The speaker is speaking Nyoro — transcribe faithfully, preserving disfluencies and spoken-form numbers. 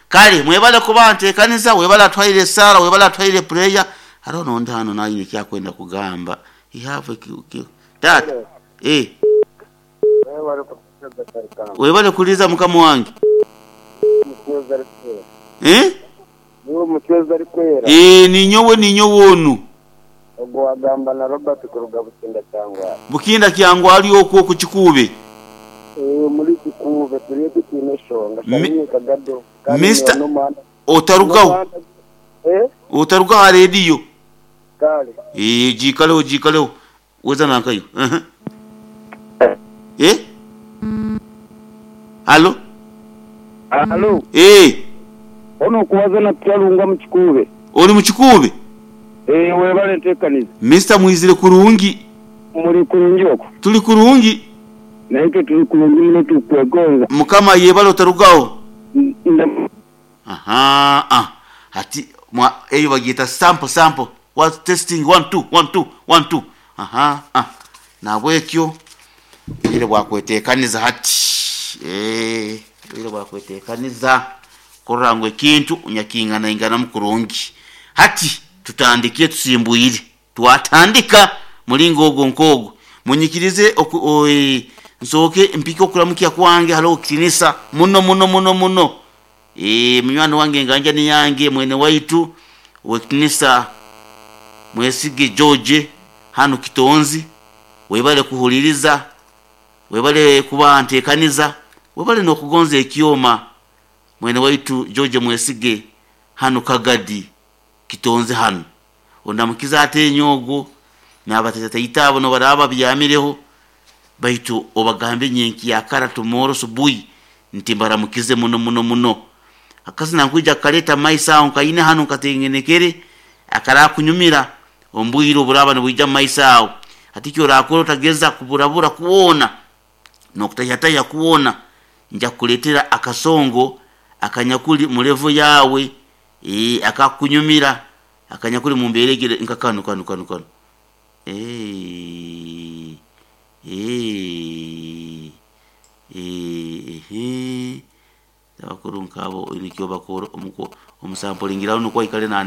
Kale mwebale kuba nteekaniza, webale atwaire esaara, webale atwaire prayer. Hariho nondi hano naine ekyakwenda kugamba. He have a taata eh webale kuliza mukama wange. Eh Niwe mucwezi arikwera. Eh, ninyowe ninyowe onu. Ogwo wagamba na Robert kuruga Bukinda Kyangwali. Bukinda Kyangwali okwo ku Kikuube. Eh, muri Kikuube turiyo tutiine eshonga. Mi- Kagado. Mister Otarugaho. Eh? Otarugaho ha rediyo. Kale. Eh, jikaleho jikaleho. Weza nankayo. Uh-huh. Eh? Halo? Halo. Eh, Ono okubaza na Kyalunga mu Kikuube. Oli mu Kikuube? Eh, webale nteekaniza. Mister mwizire kurungi. Muri kurungi okwo. Tuli kurungi. Naye tuli kurungi muno tukwegonza. Mukama yebale otarugaho. Nda- Aha, ah. Hati mwa eyo bagiyita sample sample. What testing one two one two one two. Aha, ah. Nabwekyo bwire bwakwetekaniza hati. Eh, bwire bwakwetekaniza kurora ngu ekintu unyakingana ingana mukurungi. Hati tutandikire tusimbwire. Twatandika mulingo ogwo nkogo. Munyikirize oku, oi, nsooke mpike okuramukya kwange halo kitinisa muno muno muno muno. E, munywani wange nganja ni yange mwene waitu wekitinisa Mwesige George hano Kitonzi, webale kuhuliriza, webale kuba ntekaniza, webale nokugonza ekyoma mwene waitu George Mwesige hano Kagadi Kitonzi hano ondamukiza ate enyogo n'abatatayita abo nobaraba byamireho baitu obagambe nyenki yakara tomorrow subuhi nti mbaramukize muno muno muno. Akasi nankwija kaleta maisa aho nkaine hano nkatengenekere akarakunyumira ombwire oburaba nibwija maisa aho ati kyo orakora otageza kuburabura kuwona nokutayataya kuwona nja kukuletera akasongo akanyakuli mulevo yawe e, akakunyumira akanyakuli mumberegere nka kano kano kano kano eh eh eh eh abakuru nkabo nikyo bakora omuko omusampulingira nukwo ikale nane.